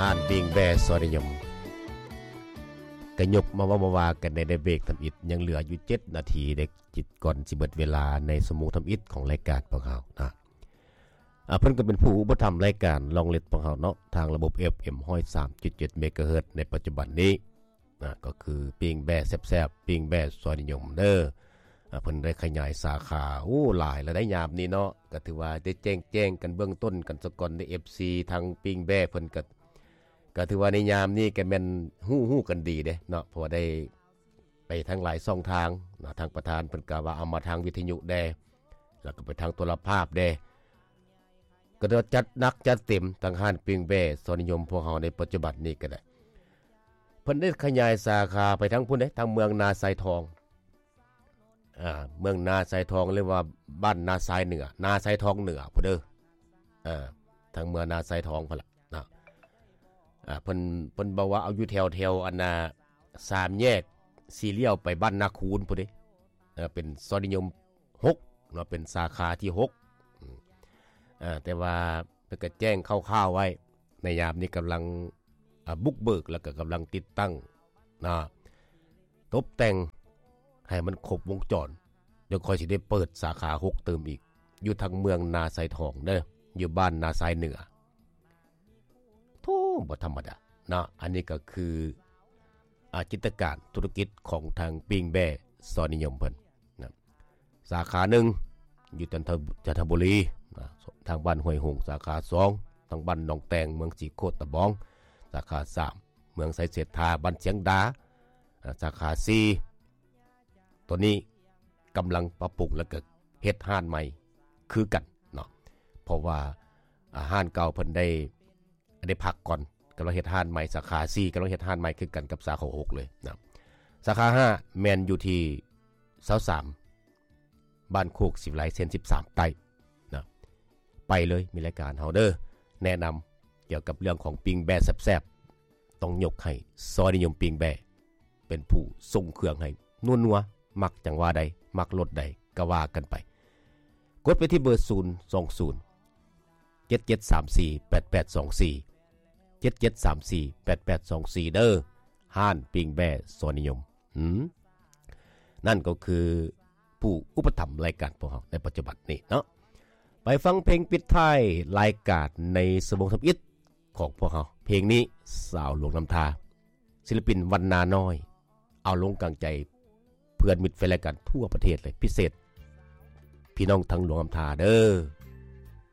ຮ້ານປີ້ງແບ້ຊອຍນິຍົມ ກະຍົກມາເວົ້າມາວ່າກັນໃນເບຣກທຳອິດ ຍັງເຫຼືອຢູ່ເຈັດນາທີເດ້ ຈິດກ່ອນຊິເບິດເວລາໃນຊົ່ວໂມງທຳອິດຂອງລາຍການພວກເຮົານະ. ອາ ເພິ່ນກໍເປັນຜູ້ອຸປະຖຳລາຍການລອງເລັດພວກເຮົາເນາະ ທາງລະບົບ ເອັຟເອັມ ຮ້ອຍສາມຈຸດເຈັດ ເມກາເຮີດ ໃນປັດຈຸບັນນີ້ນະ ກໍຄືປີ້ງແບ້ແຊບໆ ປີ້ງແບ້ຊອຍນິຍົມເດີ. ອາ ເພິ່ນໄດ້ຂະຫຍາຍສາຂາ ໂອ້ ຫຼາຍແລ້ວໃດຍາມນີ້ເນາະ ກໍຖືວ່າໄດ້ແຈ້ງໆກັນເບື້ອງຕົ້ນກັນສາກ່ອນເດີ ເອັຟຊີ ທາງປີ້ງແບ້ເພິ່ນກໍ ກໍຖືວ່າໃນຍາມນີ້ກໍແມ່ນຮູ້ ຮູ້ກັນດີເດ້ເນາະ ເພາະວ່າໄດ້ໄປທາງຫຼາຍຊ່ອງທາງເນາະ ທາງປະທານເພິ່ນກໍວ່າເອົາມາທາງວິທະຍຸແດ່ ແລ້ວກໍໄປທາງໂທລະພາບແດ່ ກໍໄດ້ຈັດໜັກຈັດເຕັມ ທາງຮ້ານປີ້ງແບ້ຊອຍນິຍົມພວກເຮົາໃນປັດຈຸບັນນີ້ກໍໄດ້ ເພິ່ນໄດ້ຂະຫຍາຍສາຂາໄປທາງພຸ້ນເດ້ ທາງເມືອງນາຊາຍທອງ ອາ ເມືອງນາຊາຍທອງ ຫຼືວ່າບ້ານນາຊາຍເໜືອ ນາຊາຍທອງເໜືອພຸ້ນເດີ ອາ ທາງເມືອງນາຊາຍທອງພຸ້ນລະເນາະ. ອາ ເພິ່ນ ເພິ່ນບອກວ່າເອົາຢູ່ແຖວ ແຖວອັນນ່າ ສາມແຍກສີ່ລ້ຽວໄປບ້ານນາຄູນພຸ້ນເດ້ ເປັນຊອຍນິຍົມຫົກເນາະ ເປັນສາຂາທີຫົກ ອາ ແຕ່ວ່າເພິ່ນກໍແຈ້ງຄ່າວໆໄວ້ ໃນຍາມນີ້ກຳລັງ ອາ ບຸກເບີກ ແລ້ວກໍກຳລັງຕິດຕັ້ງນະ ຕົບແຕ່ງໃຫ້ມັນຄົບວົງຈອນ ດຽວຂ້ອຍຊິໄດ້ເປີດສາຂາຫົກຕື່ມອີກ ຢູ່ທາງເມືອງນາຊາຍທອງເດີ ຢູ່ບ້ານນາຊາຍເໜືອ. ໂທ້ ບໍ່ທຳມະດາເນາະ ອັນນີ້ກໍຄື ອາ ກິດຈະການທຸລະກິດຂອງທາງປີ້ງແບ້ຊອຍນິຍົມເພິ່ນນະ. ສາຂາໜຶ່ງຢູ່ຈັນທະ ຈັນທະບູລີນະ ທາງບ້ານຫ້ວຍຮຸ່ງ, ສາຂາສອງ ທາງບ້ານໜອງແຕງ ເມືອງສີໂຄດຕະບອງ, ສາຂາສາມ ເມືອງໄຊເສດຖາ ບ້ານຊຽງດາ, ອາ ສາຂາສີ່ ຕອນນີ້ກຳລັງປັບປຸງ ແລ້ວກໍເຮັດຮ້ານໃໝ່ຄືກັນເນາະ ເພາະວ່າ ອາ ຮ້ານເກົ່າເພິ່ນໄດ້ ໄດ້ພັກກ່ອນ ກຳລັງເຮັດຮ້ານໃໝ່ ສາຂາສີ່ ກຳລັງເຮັດຮ້ານໃໝ່ຄືກັນກັບສາຂາຫົກເລີຍນະ. ສາຂາຫ້າແມ່ນຢູ່ທີ່ຊາວສາມ ບ້ານໂຄກສີວິໄລ ເສັ້ນສິບສາມໃຕ້ນະ ໄປເລີຍ ມີລາຍການເຮົາເດີ ແນະນຳກ່ຽວກັບເລື່ອງຂອງປີ້ງແບ້ແຊບໆ ຕ້ອງຍົກໃຫ້ຊອຍນິຍົມປີ້ງແບ້ ເປັນຜູ້ສົ່ງເຄື່ອງໃຫ້ນົວໆ ມັກຈັ່ງວ່າໃດ ມັກລົດໃດກໍວ່າກັນໄປ ກົດໄປທີ່ເບີ ສູນສອງສູນ ເຈັດເຈັດສາມສີ່ ແປດແປດສອງສີ່ ເຈັດເຈັດສາມສີ່ ແປດແປດສອງສີ່ ເດີ ຮ້ານປີ້ງແບ້ຊອຍນິຍົມ. ອືມ ນັ້ນກໍຄືຜູ້ອຸປະຖຳລາຍການພວກເຮົາໃນປັດຈຸບັນນີ້ເນາະ. ໄປຟັງເພງປິດທ້າຍລາຍການໃນຊົ່ວໂມງທຳອິດຂອງພວກເຮົາ ເພງນີ້ ສາວຫຼວງນ້ຳທາ ສິລະປິນວັນນານ້ອຍ ເອົາລົງກາງໃຈເພື່ອນມິດແຟນລາຍການທົ່ວປະເທດເລີຍ ພິເສດ ພີ່ນ້ອງທາງຫຼວງນ້ຳທາເດີ.